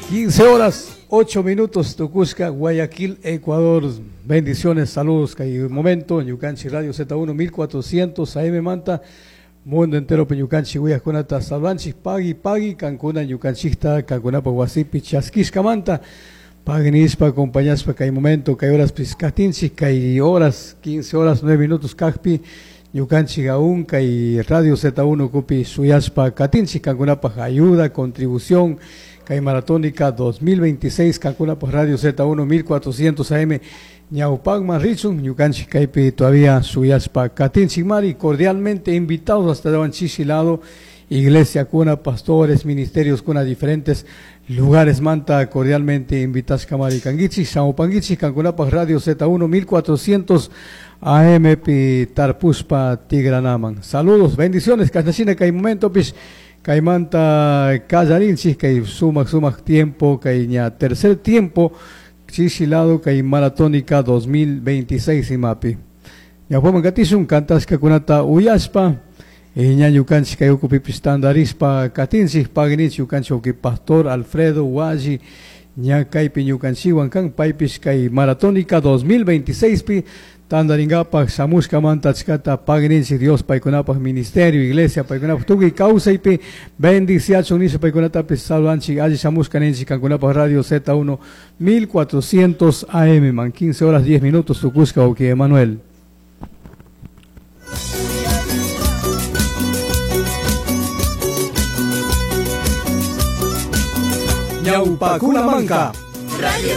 15 horas 8 minutos, tukushka, Guayaquil, Ecuador. Bendiciones, saludos. Kay momento, Ñukanchik Radio Z1 1400 AM Manta. Mundo entero ñukanchik uyajkunata saludanchik, pagui pagui, kankuna ñukanchikta, kankunapa wasipi chaskishkamanta. Pagui nishpa, acompañashpa kay momento, kay horas katinchik, kay horas, 15 horas 9 minutos kajpi, ñukanchik aún kay Radio Z1 kupi suyashpa katinchik, kankunapaj ayuda, contribución, kay Maratónica 2026, kankunapaj Radio Z1 1400 AM, ñawpakman richun, ñukanchik kaypi todavía suyashpa katinchik mari, cordialmente invitados hasta chishi lado, iglesia kuna, pastores, ministerios kuna, diferentes lugares manta, cordialmente invitashka mari kankichik, shamupankichik, kankunapaj Radio Z1 1400 AM pi tarpushpa tigranaman. Saludos, bendiciones, kashnashina kay momento pish, kaymanta kallarinchik, kay sumak sumak tiempo, kay ña tercer tiempo, chishi lado kay Maratónica 2026 imapi. Ñawpaman katishun kantashkakunata uyashpa, ña ñukanchik kay ukupipis tandarishpa katinchik, pagninchik ñukanchik uki Pastor Alfredo Hualli, ña kaypi ñukanchikwan kan, paypish kay Maratónica 2026 pi tandarinkapak shamushkamanta achkata pagninchik Dios paykunapaj ministerio, iglesia paykunapaj tukuy kawsaypi bendiciachun nisha paykunatapis saludanchik alli shamushka ninchik kankunapaj Radio Z1 1400 AM man, 15 horas 10 minutos tukushka uki Emanuel. Ñawpakuna manka. Radio